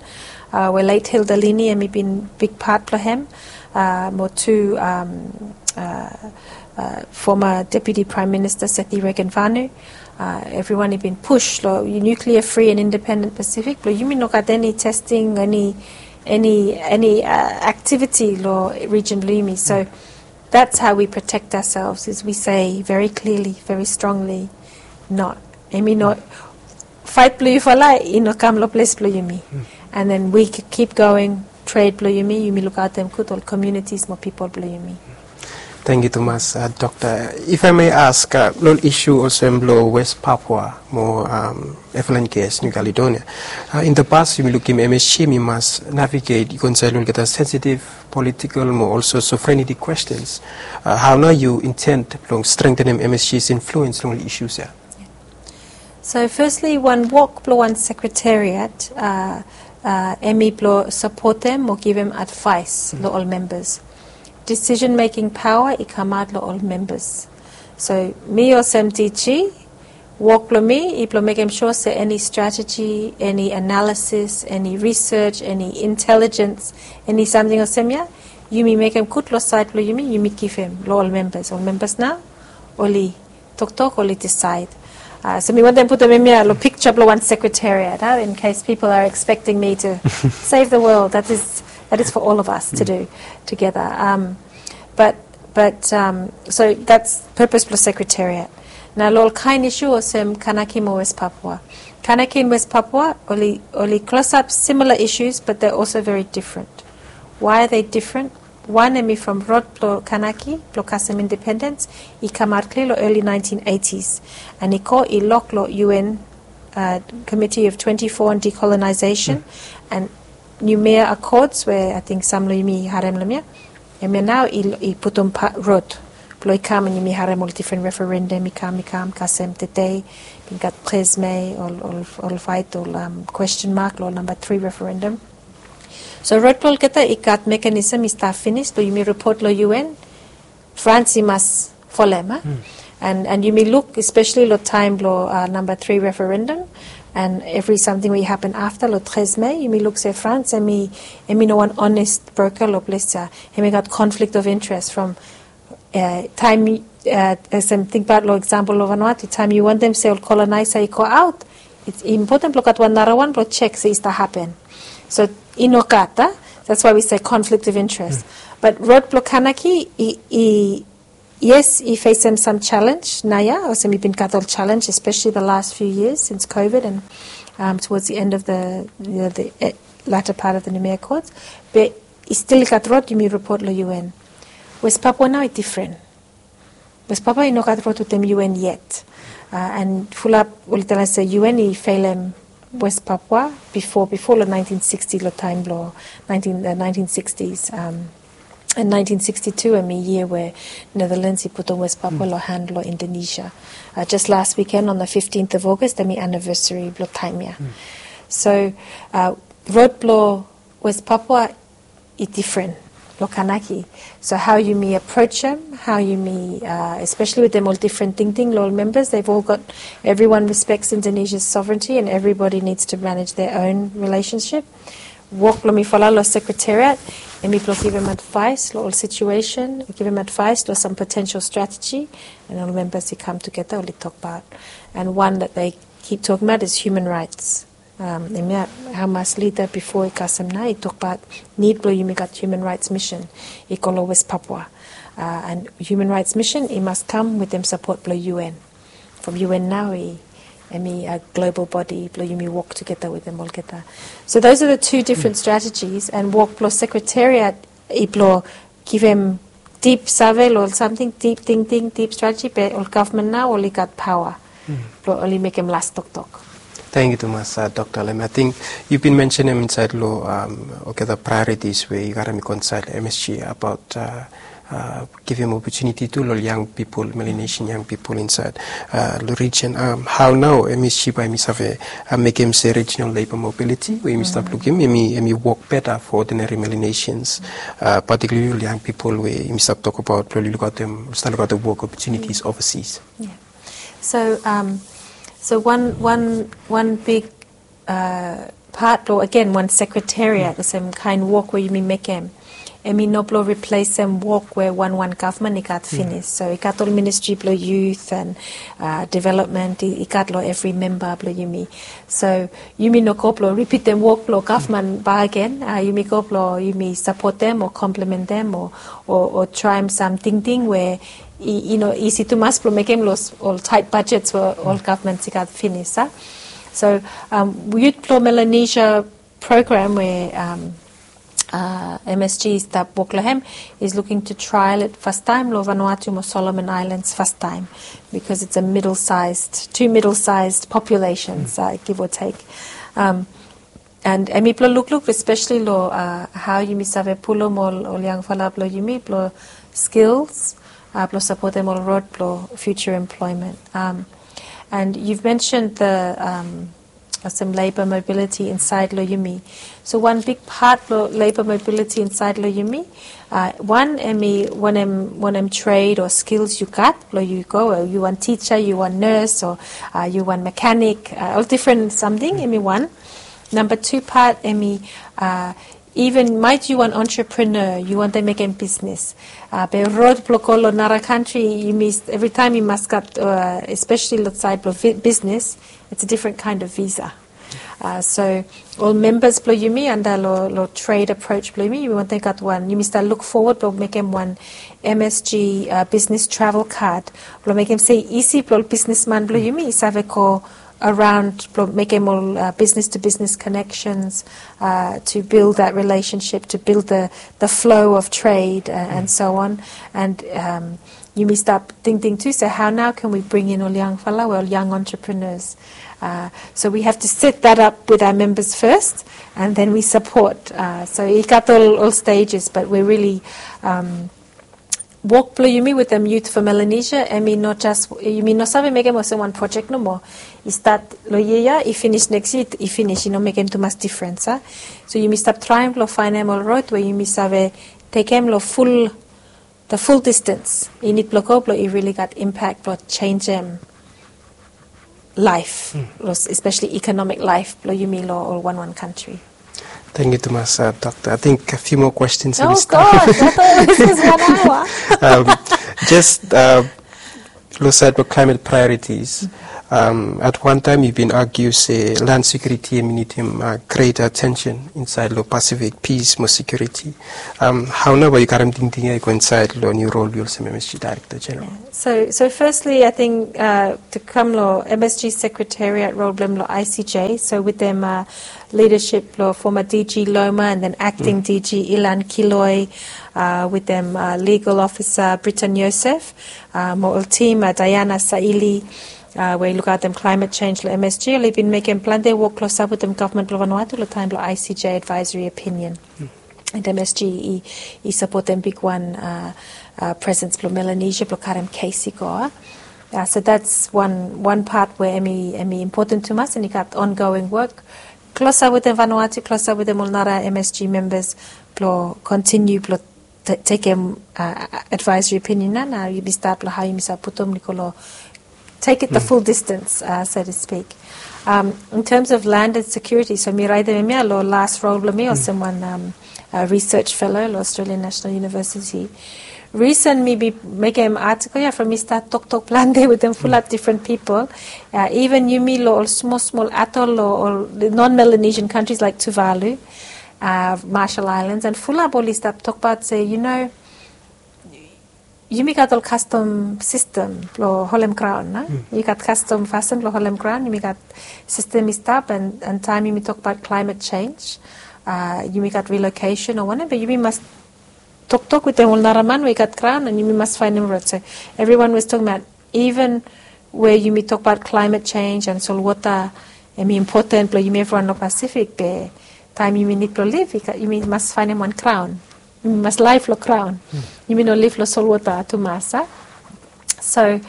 we late Hilda Lini hemi bin big pat blong hem, mo tu former Deputy Prime Minister Sethi Regenvanu. Evriwan i bin pus long nuclear free and independent Pacific blong yumi no gat eni testing, eni, eni, eni activity long region blong yumi. So that's how we protect ourselves, is we say very clearly, very strongly, no. Hemi no, faet blong yufala i no kam long ples blong yumi. And then we keep going, trade blong yumi, yumi lukaotem gud ol communities mo pipol blong yumi. Tangkiu tumas, Doctor. If I may ask, long ol isu olsem blong West Papua mo F L N K S New Caledonia. In the past yumi lukim M S G hemi mas navigate i go insaed long olgeta sensitive political mo also sovereignty questions. Hao nao yu intend blong strengthenem M S G's influence long ol issues ia? So firstly, wan wok blong wan secretariat hemi blong sapotem mo givim advaes long ol membas. Decision making paoa i kamaot long ol membas. So mi olsem D G, wok blong mi i blong mekem sua se eni strateji, eni analisis, eni research, eni intelijens, eni samting olsem ia, yumi mekem gud long saed blong yumi, yumi givim long ol membas. Ol membas nao oli toktok, oli disaed. So mi wantem putum hemia long piksa blong wan secretariat, in case people are expecting me to save the world. That is, that is for all of us to do together. But, but so that's purpose blong secretariat. Nao long ol kaen isu olsem Kanaki mo West Papua. Kanaki and West Papua oli, oli klosap similar issues, but they're also very different. Why are they different? Wan hemi from rod blong Kanaki blong kasem independens i kamaot klia long early nineteen eighties, and i go i lok long U N Committee of twenty-four on Decolonization and Noumea Accords we ating sam long yumi i harem long hemia. Hemia nao i putum rod blong i kam and yumi harem ol difren referendum i kam, i kam kasem tede. Bin gat treize mai, ol, ol, ol faet, ol question mark long ol namba tri referendum. So rod blong olgeta i gat mekanism i stap finis blong yumi ripot long U N. France i mas folem, a? And, and yumi luk especially long taem blong namba tri referendum and evri samting we i hapen afta long treize mai, yumi luk se France hemi, hemi no wan honest broker long ples ia. Hemi gat conflict of interest from taem Olsem tingbaot long eksampol long Vanuatu, taem yu wantem se ol kolonaesa i go aot, i impoten blong gat wan narawan blong jek se i stap hapen. So i no gat a. That's why we say conflict of interest. But rod blong Kanaki i, i yes, i fesem sam jalenj naoia, olsem i bin gat ol jalenj, especially the last few years since COVID and um, towards the end of the, you know, the eh, latter part of the Noumea Accords. Be i stil i gat rod yumi ripot long U N. West Papua nao i difren. West Papua i no gat rod wetem U N yet. Uh, and fulap oli talem se U N i felem West Papua bifo, bifo long nineteen sixty, long taem blong nineteen, uh, nineteen sixties. Um, and nineteen sixty-two hemi yia we Netherlands i putum West Papua long han blong Indonesia. Uh, just last weekend on the fifteenth of August hemi anniversary blong taem ia. So uh, rod blong West Papua i difren long Kanaki. So hao yumi aprojem, hao yumi, uh, especially wetem ol difren tingting long ol membas, they've all got, everyone respects Indonesia's sovereignty and everybody needs to manage their own relationship. Wok blong mifala long sekretariat hemi blong givim advaes long ol situesen, givim advaes long sam potential strateji, and ol membas i kam tugeta oli tokbaot. And one that they keep talking about is human rights. Um, hemia hamas lida bifo i kasem nao i tokbaot nid blong yumi gat human rights mission i go long West Papua. Uh, and human rights mission i mas kam wetem sapot blong U N. From U N nao i, hemi a global body blong yumi wok tugeta wetem olgeta. So those are the two different strategies, and wok blong sekretariat i blong givim dip save long ol samting, dip tingting, dip strateji, be ol gavman nao oli gat paoa blong oli mekem las toktok. Tangkiu tumas, uh, Dokta Lem. Ating yu bin mensenem insaed long, um, olgeta priorities we yu gat hemi go insaed long M S G abaot, uh, uh, givim opotuniti tu long ol yang pipol, Melanesian yang pipol insaed, uh, long rijen. Um, hao nao M S G bae hemi save, uh, mekem se regional labor mobility we yumi stap lukim hemi, hemi wok beta for ordinary Melanesians, uh, particularly ol yang pipol we yumi stap tokbaot, blong oli lukaotem, stap lukaotem wok opportunities overseas. Yeah. So, um, so wan, wan, wan big, uh, pat blong, agen, wan sekretariat, olsem kaen wok we yumi mekem, hemi no blong riplesem wok we wan, wan gavman i gat finis. So i gat ol ministri blong youth and, uh, development, i, i gat long evri memba blong yumi. So yumi no go blong ripitem wok blong gavman bakegen. Uh, yumi go blong yumi sapotem o komplementem o, o, o traem sam tingting we i, i no isi tumas blong mekem long ol taet bajets we ol gavmans i gat finis, a. So, um, Youth blong Melanesia program we, um, uh, M S G i stap wok long hem is looking to trial it fastaem long Vanuatu mo Solomon Islands fastaem, because it's a middle-sized, two middle-sized populations, uh, give or take. Um, And hemi blong lukluk especially long, uh, hao yumi save pulum ol, ol yangfala blong yumi blong skills, uh, blong sapotem ol rod blong future employment. Um, and you've mentioned the, um, olsem labor mobility insaed long yumi. So wan big pat blong labor mobility insaed long yumi, uh, wan hemi wanem, wanem trade o skills yu gat blong yu go, o yu wan tija, yu wan nes, o, uh, yu wan mekanik, uh, ol difren samting, hemi wan. Namba tu pat hemi, uh, even maet yu wan entrepreneur, yu wantem mekem bisnis. Uh, be rod blong go long nara kantri, yumi, evritaem yu mas gat, uh, especially long saed blong bisnis, it's a different kind of visa. Uh, so ol membas blong yumi anda long, long trade approach blong yumi, yumi wantem gat wan, yumi stap luk fowod blong mekem wan M S G, uh, business travel card blong mekem se isi blong ol bisnisman blong yumi i save go around blong mekem ol, uh, business to business connections, uh, to build that relationship, to build the, the flow of trade, uh, and so on. And, um, yumi stap tingting tu se hao nao can we bring in ol yangfala, ol yang entrepreneurs. Uh, so we have to set that up with our members first, and then we support. Uh, so i gat ol, ol stages, but we're really, um, wok blong yumi wetem Youth for Melanesia, hemi no jes, yumi no save mekem olsem wan projek nomo. I stat long yia ia, i finis neks yia, i finis, i no mekem tumas difrens, a. So yumi stap traem blong faenem ol rod we yumi save tekem long ful, the full distance i nid blong go blong i really gat impact blong jenisim laef, especially economic laef blong yumi long ol wanwan kantri. Tangkiu tumas, uh, Dokta. Ating a few more questions. Oh God, I thought this was one hour. Um, jes, uh, Lo side lo climate priorities, um, at one time you been argue se land security and minimum uh, great attention inside lo Pacific peace mo security. Um, how now you karam ding ding go inside lo new role you'll say M S G Director General? So, so firstly, I think uh, to come lo M S G Secretariat role blem lo I C J. So with them uh, leadership lo former D G Loma and then acting D G Ilan Kiloi, uh, with them uh, legal officer Britain Yosef, uh, mo ol team uh, Diana Saili, uh, we i lukautem climate change lo M S G, oli bin mekem plante wok klosap wetem gavman blo Vanuatu lo taem blo I C J advisory opinion. And M S G i, i sapotem bigwan uh, uh, presence blo Melanesia blo karem kes i go. Uh, so that's one, one part where hemi, hemi important tumas and i gat ongoing work. Klosap wetem Vanuatu, klosap wetem ol nara M S G members blo continue blo tekem uh, advisory opinion na, na yumi stat lo hao yumi sa putum i go lo take it the full distance, uh, so to speak. Um, in terms of land and security, so mi raetem hemia lo last role blo mi olsem wan um, uh, research fellow lo Australian National University. Reason mi bin mekem article ia from mi stat toktok plante wetem fulap different people. Uh, even yumi lo ol smol smol atol lo ol non-Melanesian countries like Tuvalu, uh, Marshall Islands, and fulap oli stap tokbaot se, you know, yumi gat ol kastom sistem blo holem graon, a? Yumi gat kastom fasin blo holem graon, yumi gat sistem i stap, and, and taem yumi tokbaot climate change, uh, yumi gat relocation o wanem, be yumi mas toktok wetem ol nara man we i gat graon, and yumi mas faenem rod. So everyone was talking about even we yumi tokbaot climate change and solwota, hemi important blo yumi evriwan lo Pacific, be taem yumi nid blo liv, yumi mas faenem wan graon. Yumi mas laef lo graon. Yumi no liv lo solwota tumas, a? So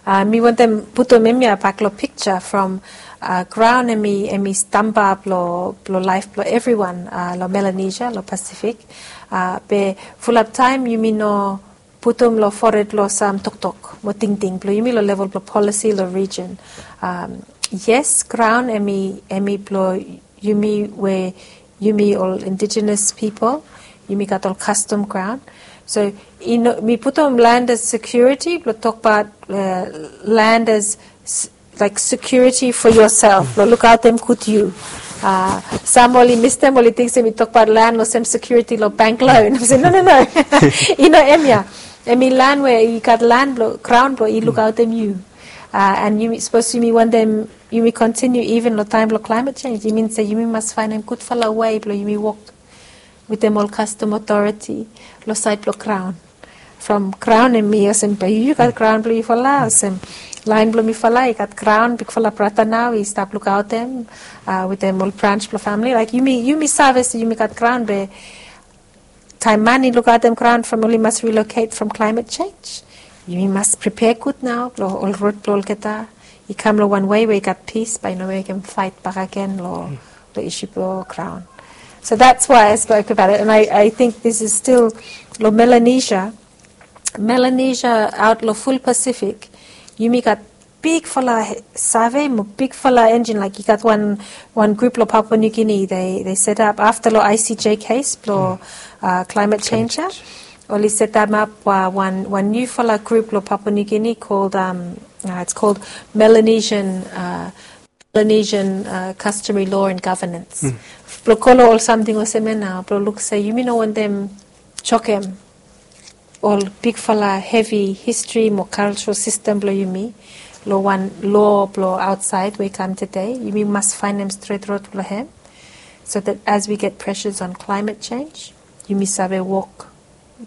uh, mi wantem putum hemia bak lo piksa from uh, graon hemi, hemi stamba blo, blo laef blo evriwan uh, lo Melanesia, lo Pacific. Uh, be fulap taem yumi no putum lo fored lo sam toktok mo tingting blo yumi lo level blo policy lo region. Um, yes, graon hemi, hemi blo yumi we yumi ol indigenous people, yumi gat ol kastom graon. So, you know, mi putum land as security, blo tokbaot uh, land as like security for yourself, lo lukaotem gud yu. Uh, sam oli mistem, oli ting se mi tokbaot land olsem security lo bank loan. Mi se, no, no, no. I no hemia. Hemi land we i gat land blo, graon blo i lukaotem yu. Uh, and yumi, sapos yumi wantem yumi continue even lo taem blo climate change, i min se yumi mas faenem gudfala wei blo yumi wok wetem ol kastom authority lo saed blo graon. From graon hemi olsem be yu gat graon blo yufala, olsem laen blo mifala i gat graon, bigfala brata nao i stap lukaotem uh, wetem ol brans blo famili. Like yumi, yumi save se yumi gat graon, be taem man i lukaotem graon from oli mas relocate from climate change, yumi mas prepare gud nao lo ol rod blo olgeta i kam lo wan wei we i gat pis, bae i no mekem faet bakegen lo, lo isu blo graon. So that's why I spoke about it, and I, I think this is still lo Melanesia, Melanesia aot lo ful Pacific, yumi gat bigfala save mo bigfala enjin, like i gat wan, wan grup lo Papua New Guinea, they, they set up afta lo I C J case blo uh, climate change ia. Oli set them up uh, wan, wan niufala grup lo Papua New Guinea called, um, uh, it's called Melanesian, uh, Melanesian uh, Customary Law and Governance. Blo go lo ol samting olsem ia nao, blo luk se yumi no wantem jokem ol bigfala hevi history mo cultural system blo yumi lo wan law blo aotsaed we i kam tede. Yumi mas faenem stret rod blo hem, so that as we get pressures on climate change, yumi save wok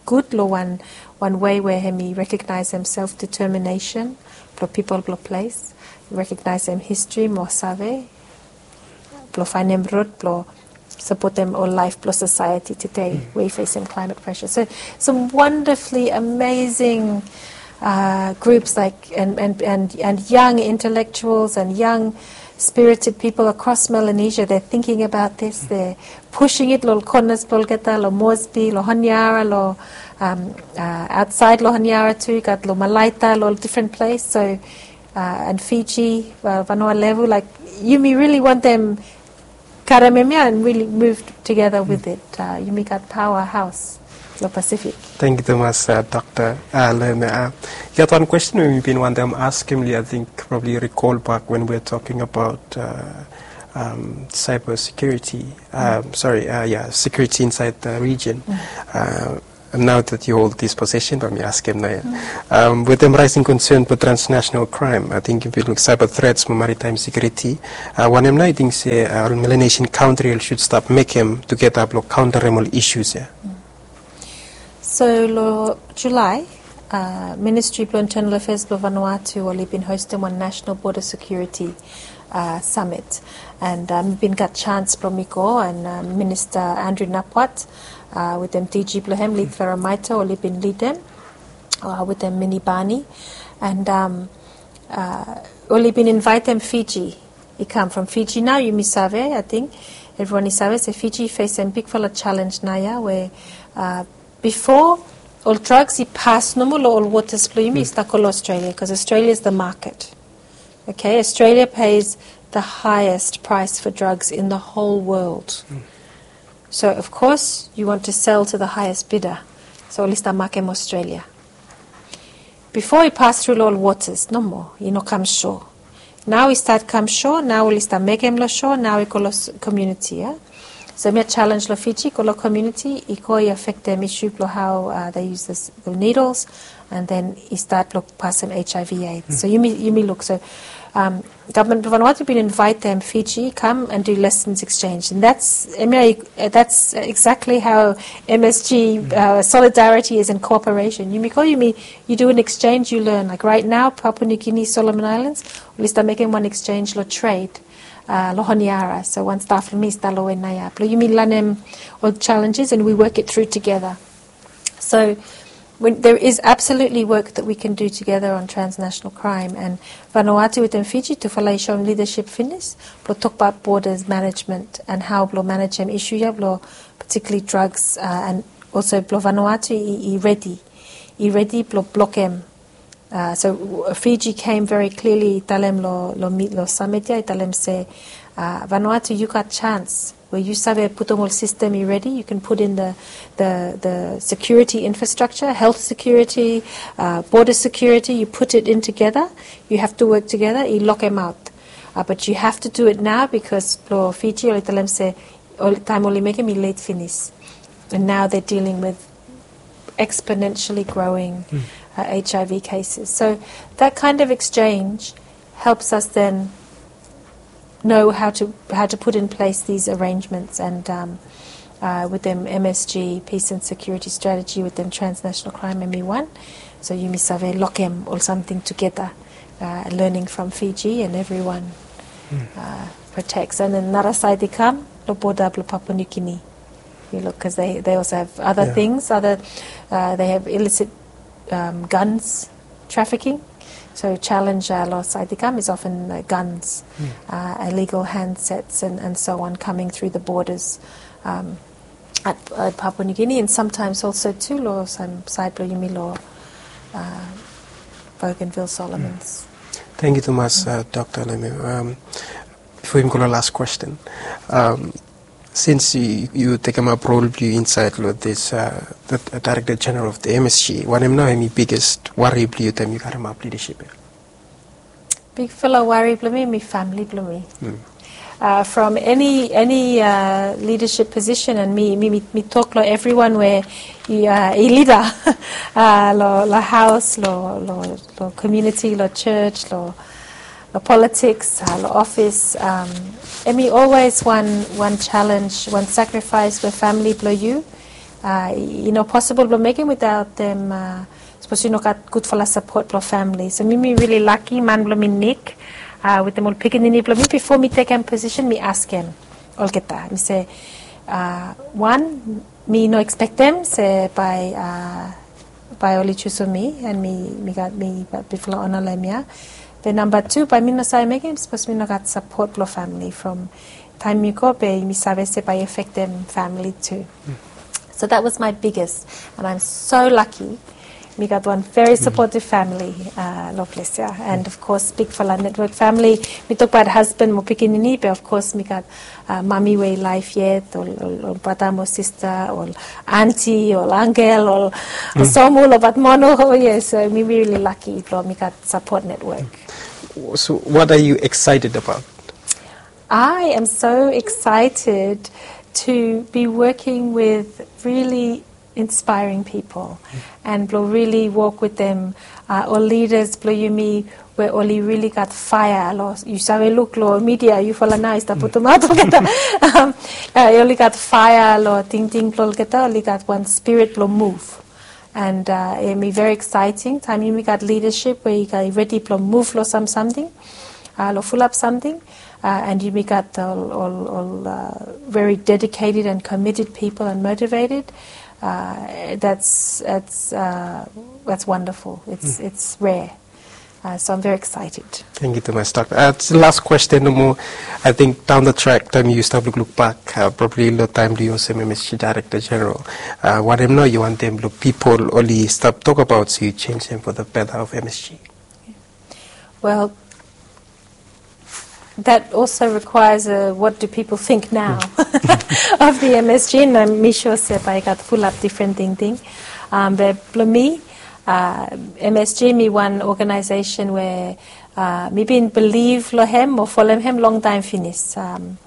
gud lo wan, wan wei we hemi recogniseem self determination blo pipol blo ples, recogniseem history mo save blo faenem rod blo sapotem ol laef blo society tede we i fesem climate pressure. So some wonderfully amazing uh, groups like and, and, and, and young intellectuals and young spirited people across Melanesia, they're thinking about this, they're pushing it lo ol corners blo olgeta, lo Moresby, lo Honiara, lo um, uh, aotsaed lo Honiara tu, gat lo Malaita, lo different place. So uh, and Fiji, uh, Vanua Levu, like yumi really wantem karem hemia and really move together with it. Uh, yumi gat powerhouse. Lo Pacific. Thank you tumas, uh, Doctor uh, Leme. Uh, yu gat wan question we mi bin wantem askem li, I think probably you recall back when we were talking about uh, um, cyber security. Um, sorry, uh, yeah, security inside the region. Uh, and now that you hold this position, let me ask him now. Um, with them rising concern for transnational crime, I think if you look cyber threats mo maritime security, uh, wanem nao yu ting se uh, Melanesian country should start mekem together blong counter all issues ya. So lo July, uh, Ministry blong Internal Affairs blong Vanuatu oli bin hostem wan National Border Security uh, Summit. And um, mi bin gat chance blong mi go, and um, Minister Andrew Napwat uh, wetem D G blong hem, Leith Veramaito, oli bin lidem uh, wetem Minnie Barney. And um, uh, oli bin invaetem Fiji i kam from Fiji. Nao yumi save, I think everyone i save se Fiji i fesem bigfala challenge naoia we uh, bifo ol drugs i pas nomo lo ol waters blong yumi i stap go lo Australia, because Australia is the market. Okay, Australia pays the highest price for drugs in the whole world. So of course you want to sell to the highest bidder. So oli stap makem Australia. Bifo i pas tru lo ol waters nomo, i no kam shore. Nao i stat kam shore, nao oli stap mekem lo shore, nao i go lo community ya. So hemia challenge lo Fiji, go lo community, i go i afektem issue blong hao uh, they use this, the needles, and then i stat blong pasem H I V AIDS. So yumi, yumi luk, so um, government blong Vanuatu bin invaetem Fiji kam and do lessons exchange, and that's, hemia, uh, that's exactly how M S G uh, solidarity is in cooperation. Yumi go, yumi, you do an exchange, you learn. Like right now, Papua New Guinea, Solomon Islands, oli stap mekem wan exchange lo trade uh, lo Honiara. So wan staf lo mi i stap lo we naoia blong yumi lanem ol challenges and we work it through together. So when, there is absolutely work that we can do together on transnational crime, and Vanuatu wetem Fiji tufala i shoem leadership finis blong tokbaot borders management and hao blong manejem issue ya blong particularly drugs uh, and also blong Vanuatu i, i redi, i redi blong blokem. Uh, so Fiji came very clearly i talem lo, lo, mi, lo summit ya, i talem se uh, Vanuatu, you got chance we yu save putum ol system i redi, you can put in the, the, the security infrastructure, health security, uh, border security, you put it in together, you have to work together, i lokemaot. Uh, but you have to do it now because lo Fiji oli talem se ol taem oli mekem i late finis. And now they're dealing with exponentially growing uh, H I V cases. So that kind of exchange helps us then know how to, how to put in place these arrangements and um, uh, wetem M S G, peace and security strategy, wetem transnational crime, M E one. So yumi save lokem ol samting together, uh, learning from Fiji and everyone uh, protects. And then nara saed i kam, lo border blo Papua New Guinea. You look, because they, they also have other things, other, uh, they have illicit um, guns trafficking. So challenge uh, lo saed i kam is often uh, guns, uh, illegal handsets and, and so on coming through the borders um, at, at Papua New Guinea and sometimes also too lo saed blo yumi lo uh, Bougainville Solomons. Thank you tumas, uh, Doctor Leme. Um, bifo yumi go lo last question. Um, Since yu, yu tekemap rol blo yu insaed lo this, uh, the, uh, Director General of the M S G, wanem nao hemi biggest wari blo yu taem yu karemap leadership ya? Bigfala wari blo mi, mi famili blo mi. Uh, from any, any uh, leadership position, and mi, mi, mi, mi tok lo evriwan we i, uh, i leader uh, lo, lo haos, lo, lo, lo community, lo church, lo lo politics, uh, lo office, um, hemi always wan, wan challenge, wan sacrifice we famili blo yu uh, i no possible blo mekem without them. Uh, sapos yu no gat gudfala support blo famili. So mi, mi really lucky, man blo mi Nick, uh, wetem ol pikinini blo mi, bifo mi tekem position mi askem olgeta. Mi se, uh, wan, mi no expectem se bae, uh, bae oli chusum mi, and mi, mi gat, mi gat bigfala ona lo hemia. Be namba tu, bae mi no save mekem sapos mi no gat support blo famili. From taem mi go, be mi save se bae i afektem famili tu. So that was my biggest, and I'm so lucky Mi gat wan very supportive family, uh, long ples ya. And of course, bigfala network family. Mi tokbaot husband mo pikinini, be of course, mi gat uh, mami we i laef yet, ol, ol, ol brata mo sista, ol anti, ol angel, ol somu, ol batmono. Oh, yes, so mi, mi really lucky blong mi gat support network. So, what are you excited about? I am so excited to be working with really inspiring people and blong really work with them, uh, ol leaders blong yumi we oli really gat fire long, yu save luk long media, yufala nao i stap putumaot olgeta. Um, uh, oli gat fire long tingting blong olgeta, oli gat wan spirit blong move. And uh, hemi very exciting taem yumi gat leadership we i gat redi blong move long sam samting, uh, long fulap samting. Uh, and yumi gat ol, ol, ol uh, very dedicated and committed people and motivated. Uh, that's, that's, uh, that's wonderful. It's, it's rare. Uh, so I'm very excited. Tangkiu tumas, Dokta. Uh, las kwesten nomo. I think down the track, taem yu stap lukluk bak, uh, probably long taem blong yu olsem M S G Director General, uh, wanem nao yu wantem blong pipol oli stap tokbaot, so yu jenis hem for the better of M S G? Well, that also requires a, what do people think now of the M S G? And I'm sure se bae i gat fulap difren tingting. Um, be blong mi, uh, M S G hemi wan organization we uh, mi bin bilif long hem o folem hem longtaem finis. Um,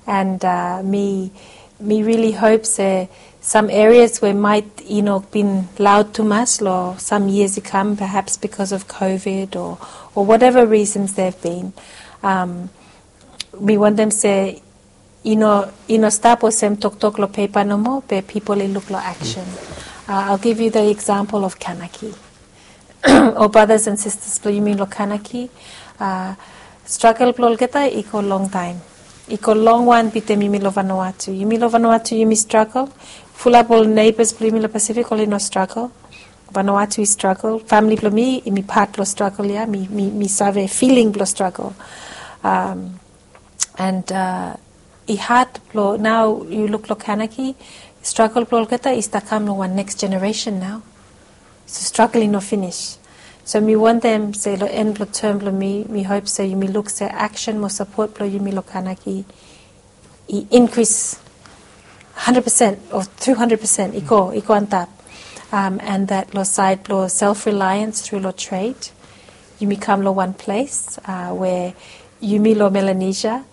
and uh, mi, mi really hope se sam areas we maet i no bin laod tumas long sam years i kam, perhaps because of COVID or, or whatever reasons they've been. Um, mi wantem se i no, i no stap olsem toktok long pepa nomo, be pipol i luk long action. Uh, I'll give you the example of Kanaki. Ol brothers and sisters blong yumi long Kanaki, uh, struggle blong olgeta i go longtaem. I go long wan bitim yumi long Vanuatu. Yumi long Vanuatu, yumi struggle. Fulap ol neighbors blong yumi long Pacific oli no struggle. Vanuatu i struggle. Famili blong mi, yumi pat blong struggle ya. Mi, mi, mi save feeling blong struggle. Um, and uh, i had blong, nao yu luk long Kanaki, struggle blong olgeta i stap kam long wan next generation nao. So struggle i no finis. So mi wantem se long en blong term blong mi, mi hope se yumi luk se action mo support blong yumi long Kanaki i increase hundred percent o two hundred percent, i go, i go antap. Um, and that long side blong self-reliance through long trade, yumi kam long wan ples, uh, we yumi long Melanesia,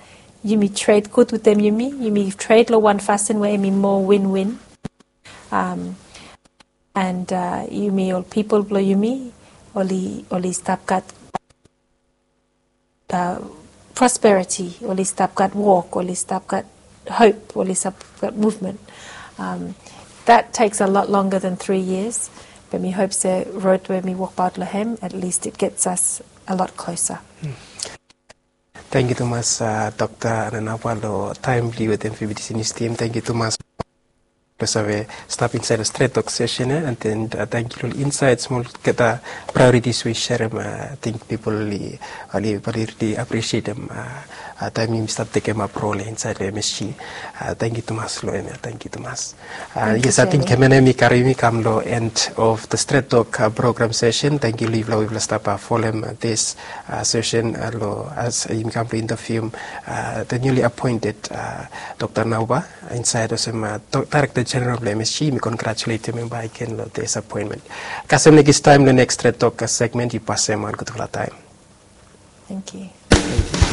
yumi trade gud wetem yumi, yumi trade long wan fasin we hemi moa win-win. Um, and uh, yumi ol pipol blong yumi oli, oli stap gat uh, prosperity, oli stap gat wok, oli stap gat hope, oli stap gat movement. Um, that takes a lot longer than three years, be mi hope se rod we mi wokbaot long hem, at least it gets us a lot closer. Tangkiu tumas, uh, Dokta Ananawa, long taem blong yu wetem Fifty Senior Team. Tangkiu tumas blong save stap insaed long Stret Tok session ya, and then uh, tangkiu long ol insaets mo olgeta priorities we yu serem. Uh, I think pipol oli, oli, oli rili aprisietem, uh, uh, taem yumi stap tekemap rol ya insaed long M S G. Uh, tangkiu tumas long hem ya, tangkiu tumas. Uh, yes, I think hemia nao hemi karem yumi kam long end of the Stret Tok, uh, program session. Tangkiu long yufala we yufala stap, uh, folem, uh, this, uh, session, uh, long, as, uh, yumi kam long interview, uh, the newly appointed, uh, Dokta Ananawa, insaed olsem, uh, Director General blong M S G. Mi congratulatem hem bakegen long this appointment. Kasem nekis taem long next Stret Tok, uh, segment, yu pasem wan gudfala taem. Tangkiu.